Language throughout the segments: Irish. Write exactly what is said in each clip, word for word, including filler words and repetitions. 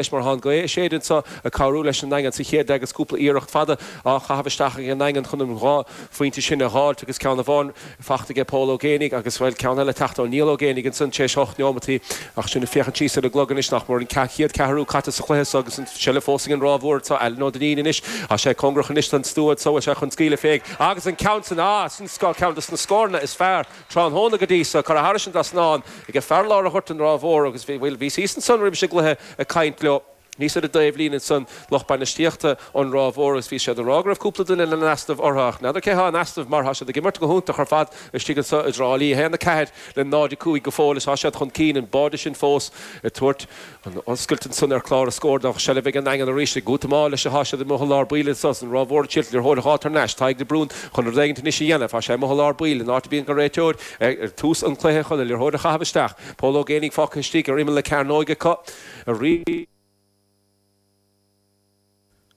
Mar tá an ghaoth ag séideadh anseo ag cabhrú leis an nDaingean sa chéad leath agus cúpla iarracht fada á chaitheamh isteach ag an nDaingean chun an dhá phointe sin a dh'fháilt agus ceann amháin fachta aige Pól Ó Géibheannaigh agus bhuel ceann eile teacht ó Niall Ó Géibheannaigh ansan tar éis ocht neomataí ach sinn ag féachaint síos ar an gclog anois nach mór an chéad ceathrú caite sa chluiche so agus an seilbh fós ag an Ráth Mhór anseo Alan Ó Duinnín anois tá sé cóngarach anois don stua anseo bhfuil sé chun scaoileadh fé agus an ceann san ah sin ceann dos na scóranna is fearr tráthnóna go dtí so curtha thairis an dtrasnán ag fear lár an ghoirt an Ráth Mhór agus bhí bhí bhíos ansan roimh an gcluiche ag caint leo níos ar an dtaobhlíne ansan lucht bainistíochta an Ráth Mhór agus bhí siad ag rá go raibh cúpla duine in easnamh orthu ach n'fheadar cé há in easnamh mar tá siad ag imirt go hiontach ar fad istigh anseo i dTrá Lí. A haon a ceathair le náid a cúig go fóill is tá siad chun cinn an báide sin fós ag tabhairt an oscailt ansan ar chlár na scór ach seilbh ag an nDaingean arís ag útamáil leis atá siad amuigh i lár baill anso an Ráth Mhór ag triail liathróid a dh'fháilt thar n-ais. Tadhg de Brún chun rud éigint anois a dhéanamh. Tá sé amuigh i lár baill in áit a bíonn an réiteoir ag tús an chluiche chun an liathróid a chaitheamh isteach. Pól Ó Géibheannaigh fágtha istigh ar imeall na cearnóige acu arís.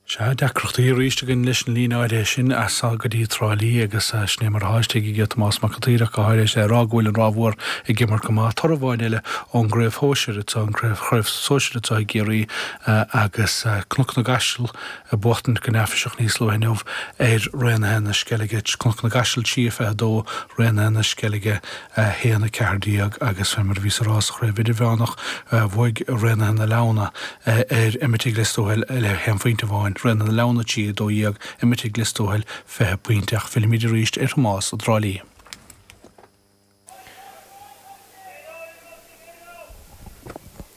Sea, deacrachtaí arís againn leis an líne áirithe sin as go dtí Trá Lí agus sin é mar atá istigh aige Tomás Mac an tSaoir ach go háirithe is é a rá go bhfuil an Ráth Mhór ag imirt go maith. Toradh amháin eile ón gcraobh shóisir atá an chraobh sóisir atá i gCiarraí agus Cnoc na gCaiseal ag buachtaint go neafaiseach níos luaithe inniu ar Raonaithe na Sceilge. Cnoc na gCaiseal trí a fiche a dó, Raonaithe na Sceilge a haon a ceathair déag agus fé mar a bhíos a rá sa chraobh idirmheánach bhuaigh Raonaithe na Leamhna ar Eimitigh Lios Tuathail le haon phointe amháin, Raonaithe na Leamhna trí a dó dhéag, Eimitigh Lios Tuathail fiche pointe ach fillimid arís ar Thomás i dTrá Lí.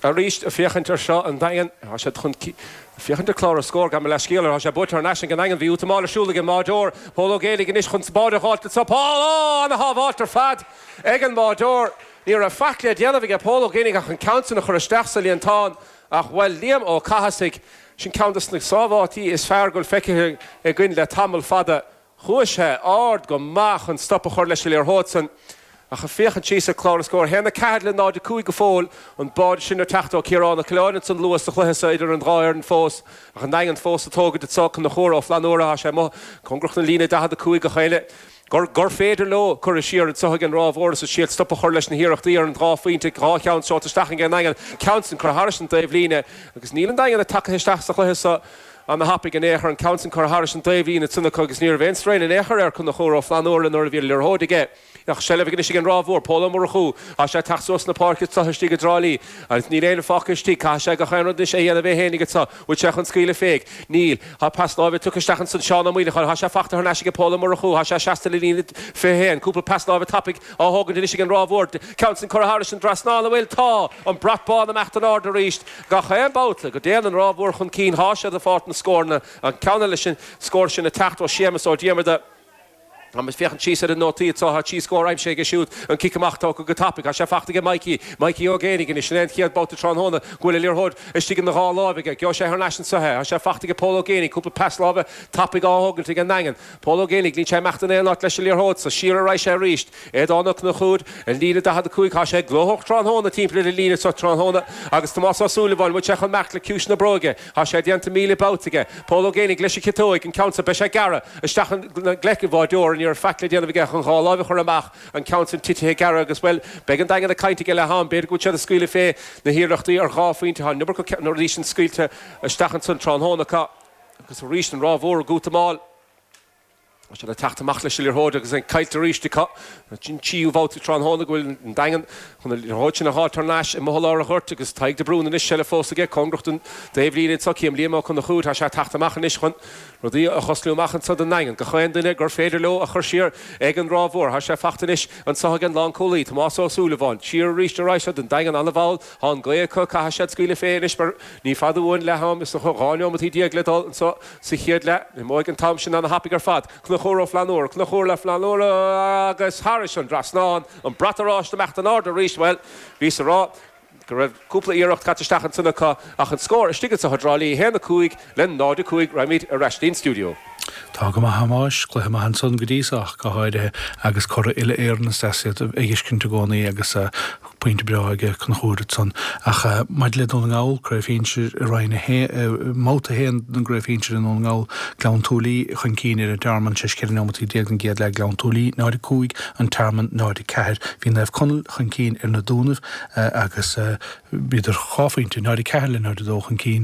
Arís, ag féachaint ar seo, an Daingean, tá siad chun féachaint ar chlár na scór, gabh mo leithscéal, tá sé buaite thar n-ais ag an nDaingean, bhí útamáil ar siúl ag an mbáireoir, Pól Ó Géibheannaigh anois chun báide a dh'fháilt anseo, Pól, ó, ana-shábháilt ar fad ag an mbáireoir, ní raibh faic le déanamh aige Pól Ó Géibheannaigh ach an ceann sin a chur isteach sa líontán ach, bhuel, Liam Ó Cathasaigh, sin ceann de na sábháiltí is fearr go bhfuil feicthe againn le tamall fada. Chuaigh sé ard go maith chun stop a chur leis an liathróid san ach ag féachaint síos ar chlár na scór, a haon a ceathair le náid a cúig go fóill, an báide sin ag teacht ó Ciarán Ó Coileáin ansan luath sa chluiche seo idir an dhá fhoireann fós ach an Daingean fós ag tógaint anso Conchúr Ó Flannúra, tá sé amuigh cóngarach don líne daichead a cúig ach éinne gur gur féidir leo cur siar anso ag an Ráth Mhór is ag triail stop a chur leis na hiarrachtaí ar an dhá phointe, dhá cheann seolta isteach ag an nDaingean, ceann san curtha thairis an dtaobhlíne agus níl an Daingean ag tagtha isteach sa chluiche seo. Ana-thapaidh in aon chor, an ceann san curtha thairis an dtaobhlíne ansan acu agus ní raibh aon straon in aon chor ar Conchúr Ó Flannúra nuair a bhí an liathróid aige. Ach seilbh anois ag an Ráth Mhór, Pól Ó Murchú, tá sé ag teacht suas na páirce anseo istigh i dTrá Lí agus níl éinne fágtha istigh. Caithfidh sé gach aon rud anois a dhéanamh é fhéinig anso. Bhfuil sé chun scaoileadh fé? Níl. Tá pas láimhe tugtha isteach ansan Seán Ó Maoileacháin. Tá sé fachta thar n-ais aige Pól Ó Murchú. Tá sé seasta le líne fiche a haon. Cúpla pas láimhe tapaidh á thógaint anois ag an Ráth Mhór. Ceann san curtha thairis an dtrasnán. An bhfuil? Tá! An brat bán imeacht in airde arís. Gach aon babhta go dtéann an Ráth Mhór chun cinn thá siad ag fáilt na scóranna. An ceann eile sin, scór sin ag teacht ó Séamus Ó Diarmada. Tá muid féachaint síos ar an nótaí anseo, tá trí scór aimsithe aige siúd, an cic amach tógtha go tapaidh, tá sé fachta aige Mikey, Mikey Ó Géibheannaigh anois, sin é an chéad babhta tráthnóna go bhfuil an liathróid istigh ina dhá láimh aige, gheobhaidh sé thar n-ais anseo é, tá sé fachta aige Pól Ó Géibheannaigh, cúpla pas láimhe tapaidh á thógaint ag an nDaingean, Pól Ó Géibheannaigh, níl sé imeacht in aon áit leis an liathróid so, siar ar aghaidh sé arís, Aodán Ó Conchúir, an líne daichead a cúig, tá sé gnóthach tráthnóna timpeall ar an líne so tráthnóna agus Tomás Ó Súilleabháin, bhfuil sé chun imeacht le ciumhais na bróige, tá sé déanta míle babhta aige, Pól Ó Géibheannaigh leis an chiotóig, an ceann so, beidh sé gearrtha isteach i ngleic an bháireora, ní raibh faic le déanamh aige ach an dhá láimh a chur amach, an ceann san titithe gearrtha agus, bhuel, beidh an Daingean ag caint aige leath am, b'fhéidir go bhfuil siad ag scaoileadh fé na hiarrachtaí ar dhá phointe, tá an iomarca na rudaí sin scaoilte isteach ansan tráthnóna acu agus arís an Ráth Mhór ag útamáil. Tá siad ag teacht amach leis an liathróid agus é caillte arís acu. Sin tríú bhabhta tráthnóna go bhfuil an Daingean chun an liathróid sin a dh'fháilt thar n-ais amuigh i lár an ghoirt agus Tadhg de Brún anois seilbh fós aige cóngarach don dtaobhlíne anseo. Cím Liam Ó Conchúir, tá sé ag teacht amach anois chun rudaí a choslú amach anseo don nDaingean. Gach aon duine gur féidir leo a chur siar ag an Ráth Mhór. Tá sé fachta anois anseo ag an lánchúlaí, Tomás Ó Súilleabháin. Siar arís ar aghaidh seo don Daingean an-mhall. Tá an ghaoth acu, caithfidh siad scaoileadh fé anois mar ní fada uainn leath-am, is dócha dhá neomataí déag le dul anseo sa chéad leath. Imeoidh an t-am sin ana-thapaidh ar fad. Conchúr Ó Flannúra, Conchúr le Flannúra agus thairis an dtrasnán, an brat oráiste imeacht in airde arís. Bhuel, bhíos a rá go raibh cúpla iarracht caite isteach ansan acu ach an scór istigh anseo i dTrá Lí, a haon a cúig le náid a cúig. Raghaimid ar ais dtí'n stiúideo. Tá go maith Thomáis, cluiche maith ansan go dtí so ach go háirithe agus curaidh uile-Éireann is iad ag fheiscint i gcónaí agus pointe breá aige Conchúr ansan. Ach maidir le Dún na nGall, Craobh Shinsir i Roinn a haon, mbabhta a haon den gCraobh Shinsir i nDún na nGall, Gleann tSúilí chun cinn ar an Tearmann tar éis ceithre neomataí déag den gcéad leath, Gleann tSúilí náid a cúig, An Tearmann náid a ceathair. Bhí Naomh Conaill chun cinn ar na Dúnaibh agus bhíodar dhá phointe, náid a ceathair le náid a dó chun cinn.